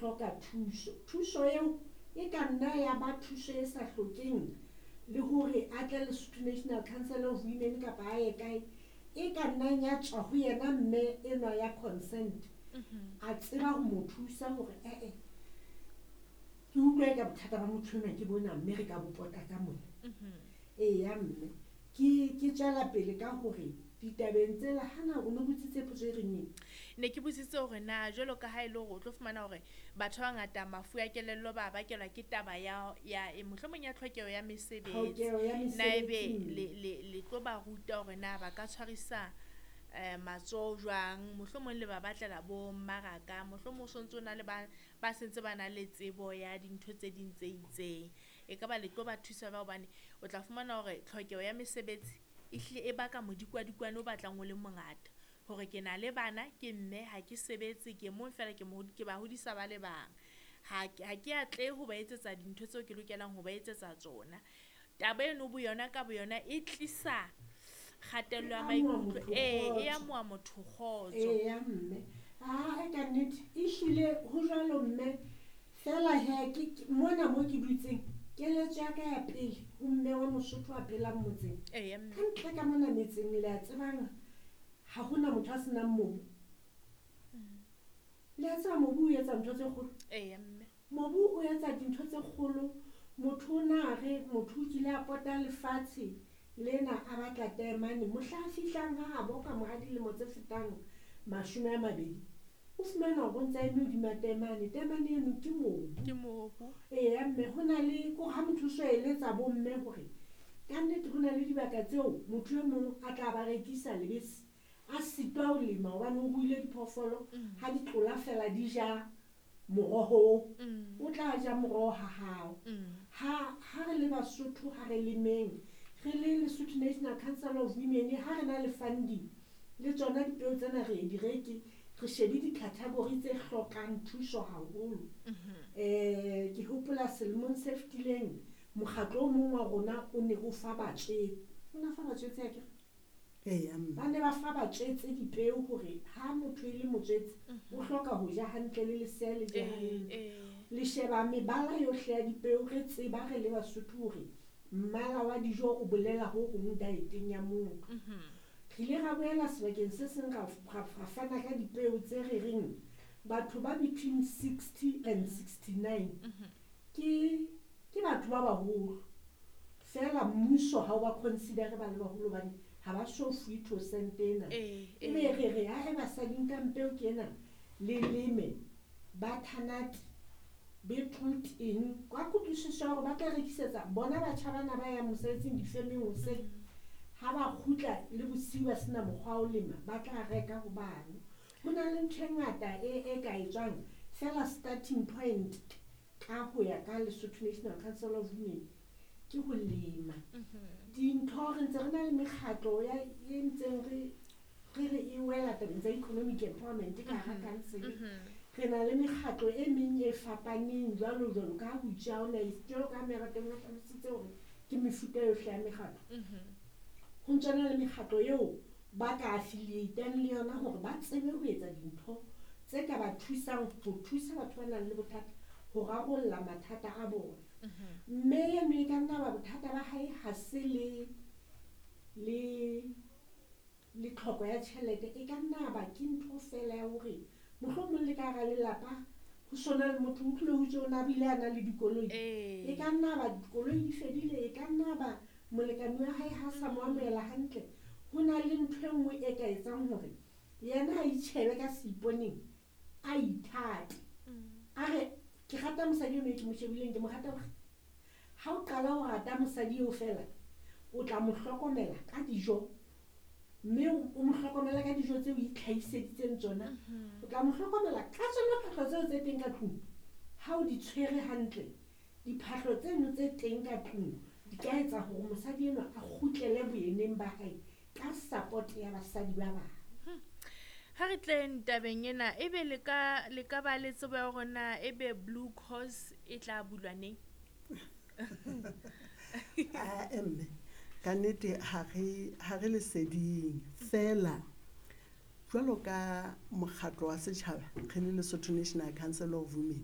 hloka thuso. Thuso eo e ka nna ya ba thuso e sa hlokeng le hore a tle Lesotho National Council of Women kapa a ye kae, e ka nnang ya tswa ho yena mme enwa ya consent. A tseba ho mo thusa hore ee, ke utlwa eka bothata ba motho enwa ke bona, mme re ka bo pota ka mona. Eya mme, ke tswela pele ka hore ditabeng tsela hana o no botsitse potso e reng eng? Ne ke botsitse hore na jwalo ka ha e le hore o tlo fumana hore batho ba bangata mafu a kelello ba bakelwa ke taba ya mohlomong ya tlhokeho ya mesebetsi. Tlhokeho ya Na ebe mesebetsi. le tlo ba ruta hore na ba ka tshwarisa matsoho jwang, mohlomong le ba batlela bo mmaraka, mohlomong o sontso o na le ba sentse ba na le tsebo ya dintho tse ding tse itseng. E ka ba le tlo ba thusa ba, hobane o tla fumana hore tlhokeho ya mesebetsi e hlile e baka modikwadikwane o batlang o le mongata. Hore ke na le bana, ke mme, ha ke sebetse, ke mong fela, ke ba hodisa ba le bang. Ha ke atlehe ho ba etsetsa dintho tseo ke lokelang ho ba etsetsa tsona. Taba eno boyona ka boyona e tlisa kgatello ya E amoha maikutlo. motho Ee, e kgotso. amoha motho kgotso. Eya mme, aa ka nnete ehlile ho jwalo mme. Feela he ke mona mo ke dutseng, keletso ya ka ya pele ho mme wa Mosotho a phelang motseng. Eya mme. Ka ntle ka mona metseng le a tsebang ha hona motho a senang mobu. Le a tseba mobu o etsa ntho tse kgolo. Eya mme. Mobu o etsa dintho tse kgolo. Motho o na re motho o kile a pota lefatshe lena a batla taemane, mohla a fihlang ha habo ka mora dilemo tse fetang 20, o fumana hore o ntse a eme hodima taemane. Taemane eno ke mobu. Ke mobu. Eya mme, ho na le ko ha motho o so eletsa bo mme hore ka nnete ho na le dibaka tseo motho e mong a tla ba rekisa lebese, a sitwa ho lema hobane o ruile diphoofolo, ha di tlola fela di ja moroho oo. O tla ja moroho ha hao. Ha re le Basotho, ha re lemeng, re le Lesotho National Council of Women, ha re na le funding, le tsona dipeo tsena re di reke, re shebe di-category tse hlokang thuso haholo. Ke hopola selemong se fetileng, mokgatlo o mong wa rona o ne o fa batswetse. O ne o fa batswetse akere? Eya mme. Ba ne ba fa batswetse dipeo hore ha motho e le motswetse, o hloka ho ja hantle le lesea le je hantle. Le sheba mebala yohle ya dipeo, re tseba re le Basotho hore mmala wa dijo o bolela ho hong dieteng ya motho. Re ile ra boela sebakeng se seng ra fana ka dipeo tse re reng batho ba between 60 and 69 ke batho ba baholo. Feela mmuso ha o ba consider ba le baholo hobane ha ba so fuwe 2 cent ena. Ebe re re ha e basadi nkang peo ke ena le leme butternut, beetroot eng, ka kutlwisiso ya hore ba tla rekisetsa bona batjha bana ba yang mosebetsing difemeng hoseng, ha ba kgutla le bosiu ba sena mokgwa wa ho lema, ba tla reka ho bano. Ho na le ntho e ngata e ka etswang feela starting point ka ho ya ka Lesotho National Council of Women ke ho lema. Dintho re ntse re na le mekgatlo ya e ntseng re e wela tabeng tsa economic empowerment ka hara council. Re na le mekgatlo e meng e fapaneng jwalo jwalo ka ha ho itse ha hona jwalo ka ha Merateng o hlalositse hore ke mefuta yohle ya mekgatlo. Ho ntso na le mekgatlo eo ba ka affiliate-ang le yona hore ba tsebe ho etsa dintho tse ka ba thusang ho thusa batho ba nang le bothata ho rarolla mathata a bona. Mme eno e ka nna ba bothata ba hae ha se le tlhoko ya tjhelete, e ka nna ba ke ntho feela ya hore mohlomong le ka hara lelapa ho sona le motho o utlwile ho itswe o na bile a na le dikoloi. E ka nna ba dikoloi di fedile, e ka nna ba molekane wa hae ha sa mo amohela hantle. Ho na le ntho e nngwe e ka etsang hore yena a itjhebe ka seiponeng, a ithate. A re ke rata mosadi eno e ke mo shebileng, ke mo rata hore ha o qala ho rata mosadi eo feela, o tla mo hlokomela ka dijo, mme o mo hlokomela ka dijo tseo o itlhahiseditseng tsona. O tla mo hlokomela ka tsona phahlo tseo tse teng ka tlung. Ha o di tshwere hantle, diphahlo tseno tse teng ka tlung di ka etsa hore mosadi enwa a kgutlele boyeneng ba hae ka support ya basadi ba bang. Ha re tleng tabeng ena, ebe le ka ba le tsebo ya hore na ebe Blue Cross e tla bulwa neng? Ah, mme ka nnete ha re leseding feela jwalo ka mokgatlo wa setjhaba re le Lesotho National Council of Women.